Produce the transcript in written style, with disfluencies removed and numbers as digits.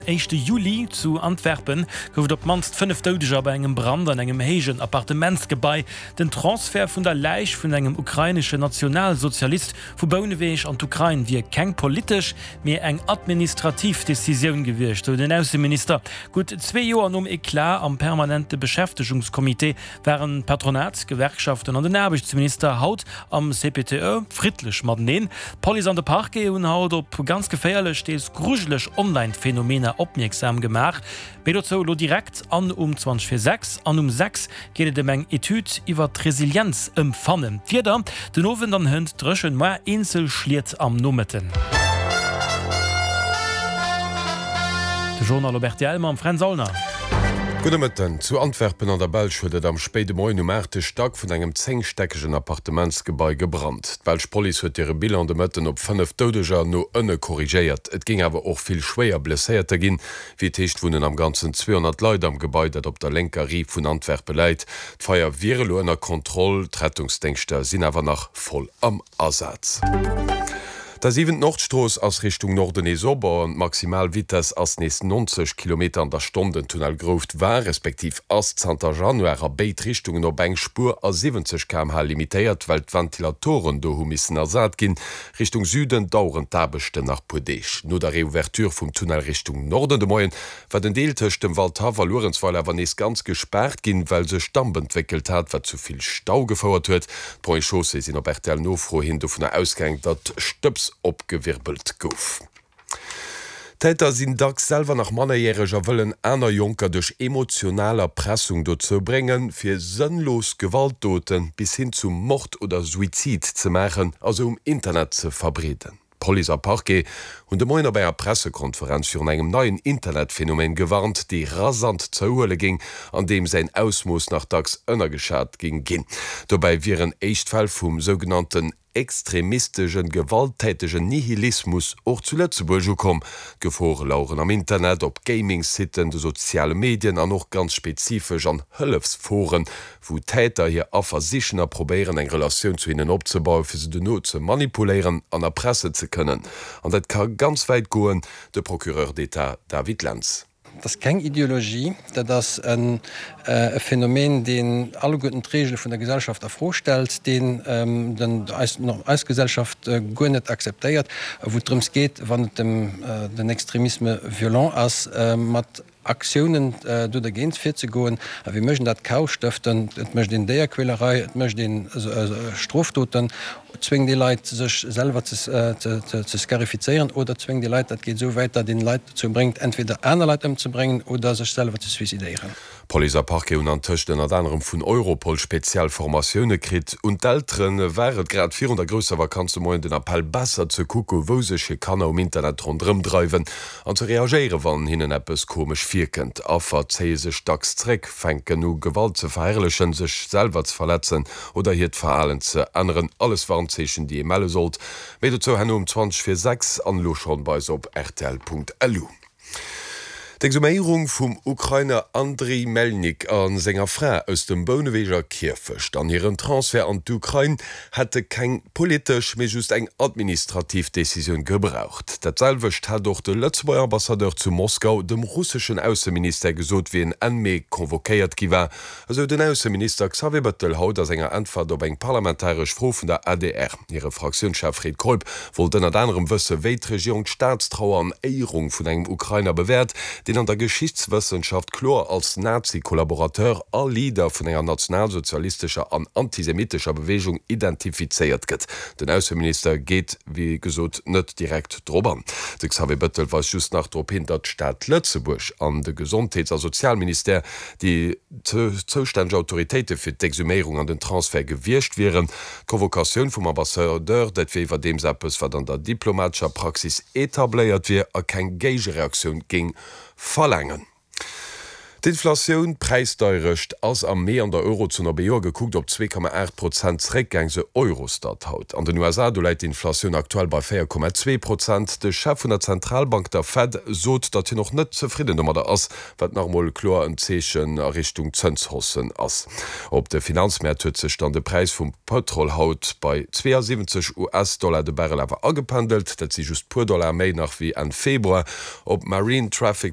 Éischte Juli, Zu Antwerpen gouf et op d'mannst 5 Doudeger bei engem Brand an engem héijen Appartementsgebai. Den Transfert vun der Läich vun engem ukraineschen Nationalsozialist vu Bouneweg an d'Ukrain wier keng politesch, mee eng administrativ Decisioun gewiescht, sou den Ausseminister. Gutt zwee Joer nom Eclat am permanente Beschäftegungscomité waren d'Patronat, d'Gewerkschaften an den Aarbechtsminister haut am CPTE friddlech mateneen. D'Police an de Parquet hunn haut op ganz geféierlech, deels grujeleg Online-Phänomener opmierksam gemaach. Méi dozou elo direkt an um 20 vir 6 an um 6 geet et ëm eng Etüd iwwer d'Resilienzempfannen. D'Wieder, Den Owend an hënt dréchen, moar eenzel Schliet am Nomëtten. De Journal op rtl mam Fränz Aulner. Gudde Mëtten. Zu Antwerpen an der Belsch huet et am spéide Moien um aachte Stack vun engem zéngstäckegen Appartementsgebai gebrannt. D'belsch Police huet hire Bilan de Mëtten op 5 Doudeger no ënne korrigéiert. Et géing awer och vill schwéier Blesséierter ginn. Wéi et heescht wunnen am Ganzen 200 Leit am Gebai, dat op der lénker Rive vun Antwerpe läit. D'Feier wier elo ënner Kontroll, d'Rettungsdéngschter sinn awer nach voll am Asaz. D'A7 Nordstrooss ass Richtung Norden nees op an d'Maximalvitess ass nees 90 Kilometer an der Stonn. Den Tunnel Grouft war, respektiv ass zanter Januar a béid Richtungen op eng Spuer a 70 km/h limitéiert, well d'Ventilatoren do hu missen ersat ginn. Richtung Süden daueren d'Aarbechten nach puer Deeg. No der Reouverture vum Tunnel Richtung Norden de Moien war den Deel tëscht dem Waldhaff a Luerenzweiler awer nees ganz gespaart ginn, well sech Damp entwéckelt hat, wat zu vill Stau gefouert huet. D'Ponts et Chaussées sinn op RTL-Nofro hin dovunner ausgaang, datt Stëbs opgewirbelt gouf. D'Täter sinn dacks selwer nach mannerjäreg a wëllen aner Jonker duerch emotional Erpressung dozou bréngen, fir sënnlos Gewaltdote bis hin zu Mord oder Suizid ze maachen a se um Internet ze verbreeden. Police a Parquet hunn de Moien op enger Pressekonferenz virun engem neien Internetphenomen gewarnt, dee rasant zouhuele géing an deem säin Ausmooss nach dacks ënnergeschat géing ginn. Dobäi wieren éischt Fäll vum sougenannten extremistegen, gewalttätegen Nihilismus och zu Lëtzebuerg ukomm. D'Gefore laueren am Internet, op Gaming-Siten, de soziale Medien an och ganz spezifesch an Hëllefsforen, wou Täter hir Affer sichen a probéieren eng Relatioun zu hinnen opzebauen, fir se dono ze manipuléieren an erpressen ze kënnen. An dat ka ganz wäit goen, de Procureur d'État David Lentz. Dat ass keng Ideologie, dat ass e Phänomen, deen alleguerten d'Reegele vun der Gesellschaft a Fro stellt, deen eis Gesellschaft guer net akzeptéiert, wou et drëms geet, wann et den Extremisme violent ass, mat Aktiounen do dergéint virzegoen. A wéi mécht een dat? Chaos stëften, et mécht een Déierquälerei, et mécht een Strofdoten, zwéngt ee Leit sech selwer ze scarifizéieren oder zwéngt ee Leit, dat geet esou wäit, datt een Leit dozou bréngt entweder aner Leit ëmzebréngen oder sech selwer ze suicidéieren. Police a Parquet hunn antëscht ënnert anerem vun Europol speziell Formatioune kritt. Un d'Eltere war et grad virun der grousser Vakanz de Moien den Appell, besser ze kucke wou sech hir Kanner um Internet ronderëm dreiwen an ze reagéieren, wann hinnen eppes komesch virkënnt. Affer zéie sech dacks zréck, fänken u Gewalt ze verherrlechen, sech selwer ze verletzen oder hiert Verhalen ze änneren. Alles Warnzeechen, déi ee melle sollt. Méi dozou herno um 20 vir 6 an elo schonn bei eis op rtl.lu. D'Exhuméierung vum Ukrainer Andriy Melnyk a senger Fra aus dem Bouneweger Kierfecht an hiren Transfert an d'Ukrain hätte keng politesch, mee just eng administrativ Decisioun gebraucht. Dat selwecht hat och de Lëtzebuerger Ambassadeur zu Moskau dem russeschen Ausseministère gesot, wéi en Enn Mee convoquéiert gi war, esou den Ausseminister Xavier Bettel haut a senger Äntwert op eng parlamentaresch Fro vun der adr. Hire Fraktiounschef Fred Keup wollt ënnert anerem wësse wéi d'Regierung d'Staatstrauer an Éierung vun engem Ukrainer bewäert, deen an der Geschichtswëssenschaft kloer als Nazi-Kollaborateur a Leader vun enger nationalsozialistescher an antisemitescher Beweegung identifizéiert gëtt. Den Ausseminister geet wéi gesot net direkt drop an. De Xavier Bettel weist just nach drop hin, datt d'Stad Lëtzebuerg an de Gesondheets a Sozialministère déi zoustänneg Autoritéite fir d'Exhuméierung an den Transfert gewiescht wieren. D'Convocatioun vum Ambassadeur, dat wier iwwerdeems eppes, wat an der diplomatescher Praxis etabléiert wier a keng Géigereaktioun géing verlaangen. D'Inflatioun, d'Präisdeierecht, ass am Mee an der Eurozon op ee Joer gekuckt op 2,8 Prozent zeréckgaang, sou Eurostat haut. An den USA, do läit d'Inflatioun aktuell bei 4,2 Prozent. De Chef vun der Zentralbank, der Fed, sot, datt hien och net zefridden domadder ass, wat nach emol kloer en Zeechen a Richtung Zënshaussen ass. Op de Finanzmäert huet sech dann de Präis vum Pëtrol haut bei 72 US-Dollar de Barrel awer agependelt. Dat si just puer Dollar méi nach wéi Enn Februar. Op marinetraffic.